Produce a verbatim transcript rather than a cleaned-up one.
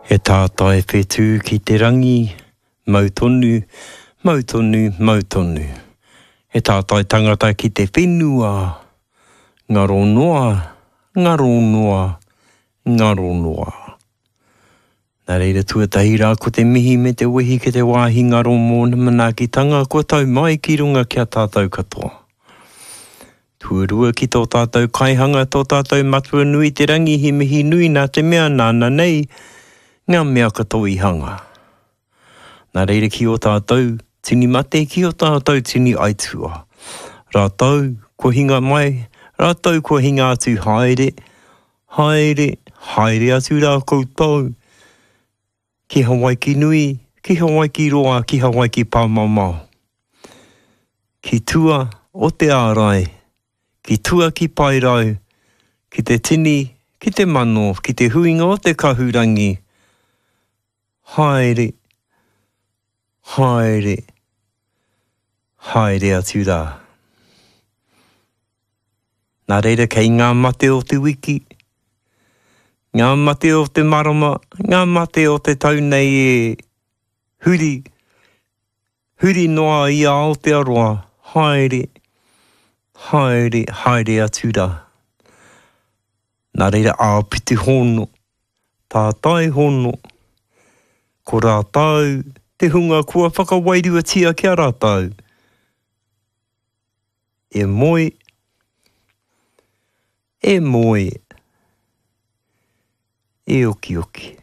He tātai whetū ki te rangi, mau tonu, mau tonu, mau tonu. He tātai tangata ki te whenua, ngaro noa, ngaro noa, ngaro noa. Nā reira tuatahi rā ko te mihi me te wehi ki te wāhi ngaro mōna manaakitanga kua tau mai ki runga ki a tātou katoa. Tuarua ki tō tātou kaihanga, tō tātou matua nui te rangi he mihi nui nā te mea nāna nei, ngā mea katoa i hanga. Nā reira ki o tātou tini mate, ki o tātou tini aitua. Rātou kua hinga mai, rātou kua hinga atu haere, haere, haere atu rā koutou. Ki Hawaiki nui, ki Hawaiki roa, ki Hawaiki pāmamao. Ki tua o te ārai, ki tua ki Paerau, ki te tini, ki te mano, ki te huinga o te kahurangi. Haere, haere, haere atu rā. Nā reira kei ngā mate o te wiki, ngā mate o te marama, ngā mate o te tau nei e huri, huri noa i a Aotearoa, haere, haere, haere atu rā. Nā reira āpiti hono, tātai hono, ko rātou te hunga kua whakawairuatia ki a rātou. E moe, e moe, e okioki.